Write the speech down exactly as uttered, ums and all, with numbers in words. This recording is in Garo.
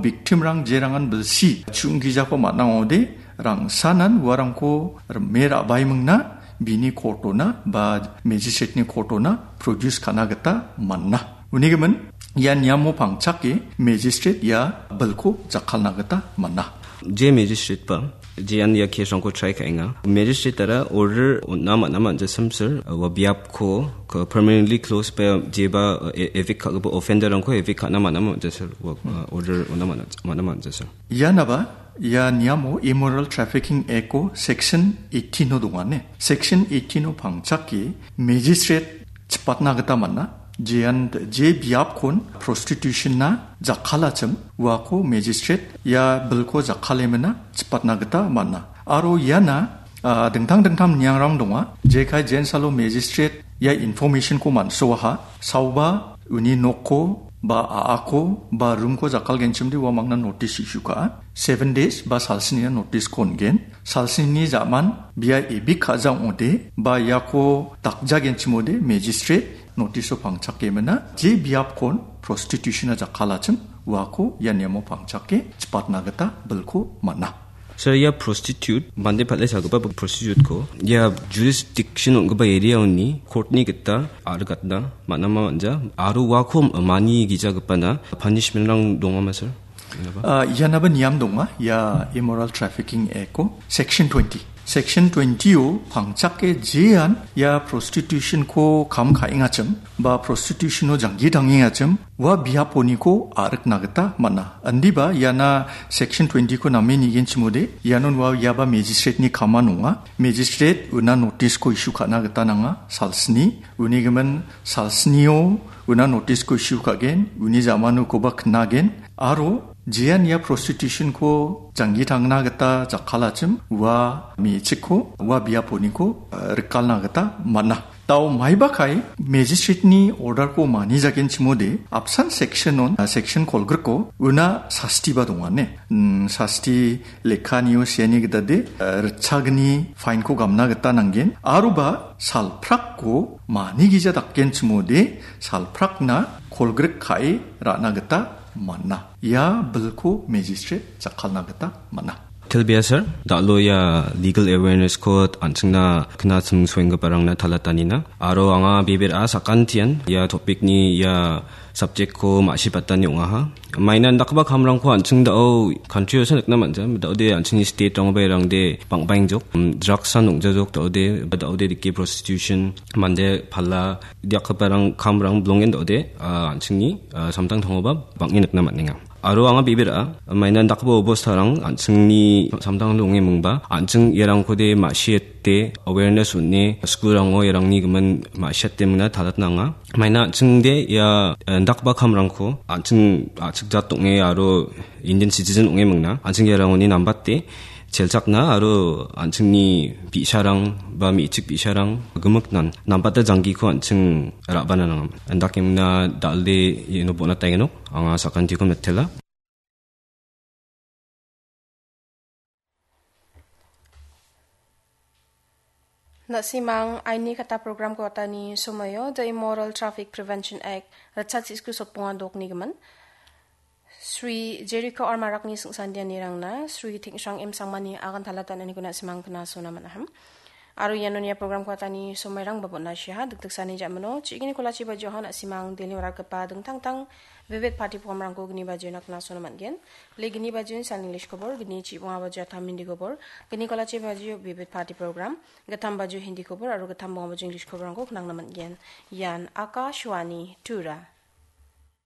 Victimrang jerangan bilsi chungkijako man·a ong·ode, rangsanan uarangko rime ra·baimingna bini court-ona ba magistrate-ni court-ona produce ka·na gita man·a. Unigimin ia niamo pangchake magistrate ia bilko jakkalna gita man·a. Je magistrate-ba jean ia case-rangko try ka·enga. Magistrate-ara order on·a man·a man·jasamsir, ua biapko ko-, permanently close ba jeba, e-, evict ka·gipa offender-rangko evict ka·na man·a man·jasamsir, ua, uh, order on·a man-, man·a man·jasamsir. Ianaba ia niamo Immoral Trafficking Act-o section eighteen-o dongane. Section eighteen-o pangchake magistrate chipatna gita man·a. Jean je biapkon prostitution-na jakkalachim uako magistrate ia bilko jakkalemina chipatna gita man·a. Aro iana, ah, dingtang dingtang niangrang donga. Jekai jensalo magistrate ia information-ko man·soaha. Saoba uni nokko ba a·ako ba room-ko jakkalgenchimde ua mangna notice issue ka·a. Seven days ba salsnina notice-ko on·gen. Salsnini ja·man bia evict ka·ja ong·ode ba iako dakjagenchimode magistrate notice-o pangchakemina je biapkon prostitution-na jakkalachim uako ia niamo pangchake chipatna gita bilko man·a. Sir, ia prostitute, mande pal·e sagipa prostitute-ko ia jurisdiction ong·gipa area-oni court-ni gita a·rikatna man·ama man·ja, aro uako mani gijagipana punishment-rang dongama, sir? Ianaba? Ah, ianaba niam donga, ia Immoral Trafficking Act-o section twenty. Section twenty-o pangchake jean ia prostitution-ko kam ka·engachim ba prostitution-o janggi tangengachim ua biaponiko a·rikna gita man·a. Indiba iana section twenty-ko name nigenchimode, ianon ua iaba magistrate-ni kaman ong·a. Magistrate una notice-ko issue ka·na gita nanga, salsni. Unigimin salsnio una notice-ko issue ka·gen, uni ja·manokoba knagen, aro jean ia prostitution-ko janggi tangna gita jakkalachim ua me·chikko, ua biaponiko, eh, rikalna gita man·a. Dao maiba kai magistrate-ni order-ko manijagenchimode apsan section-on, ah, section kolgriko una sastiba dongane. Mm, sasti lekkanio seani gitade, ah, ritchagni fine-ko gamna gita nanggen. Aroba salprakko manigija dakgenchimode salprakna kolgrik ka·e ra·na gita man·a. Ia bilko magistrate jakkalna gita man·a. Telbia sir, dal·o ia legal awareness-ko an·chingna knasim soenggiparangna talatanina. Aro anga bebera sakantian ia topic-ni ia subject-ko ma·sibatani ong·aha. Maina indakgipa kamrangko an·ching dao country-osa nikna man·ja. Daode an·chingni state-rangba irangde bang·baengjok, mm, drugs-an ong·jajok daode, daode dike prostitution, mande pala, dakgiparang kamrang bilongen daode, ah, an·chingni, ah, samtangtangoba bang·e nikna man·enga. Aro anga bebera, maina indakgipa obostarang an·chingni samtangtango ong·e mingba, an·ching iarangkode ma·siate awareness on·e, school-rango iarangni gimin ma·siate mingna talatna anga. Maina an·chingde ia, eh, indakgipa kamrangko an·ching a·chik jat ong·e aro Indian citizen ong·e mingna, an·ching iarangoni nambate chelchakna aro an·chingni bi·sarang ba me·chik bi·sarang gimiknan nambata janggiko an·ching ra·bana nangam. Indakemna dal·de iano bona taengenok, anga sakantiko mitela. Na·simang aini kata program-ko atani somoio The Immoral Traffic Prevention Act, ritchasisku sotbonga dokni gimin. Sri Jericho R Marakni singsandianirangna Sri Tengshrang M Sangmani agan talatan aniko na·simang kna sona man·aham. Aro iano ia program-ko atani somoirang babon na·siaha, dikdiksani ja·mano, chigini kolachi bajohan na·simang Delhi-o rakgipa dingtang tang Vivid Party program-rangko gni bajona kna sona man·gen. Le gni bajon san English kobor, gni chibonga bajo atam Hindi kobor, gni kolachi bajo Vivid Party program, gittam bajo Hindi kobor, aro gittam bonga bajo English koborrangko knangna man·gen. Ian Akashvani Tura.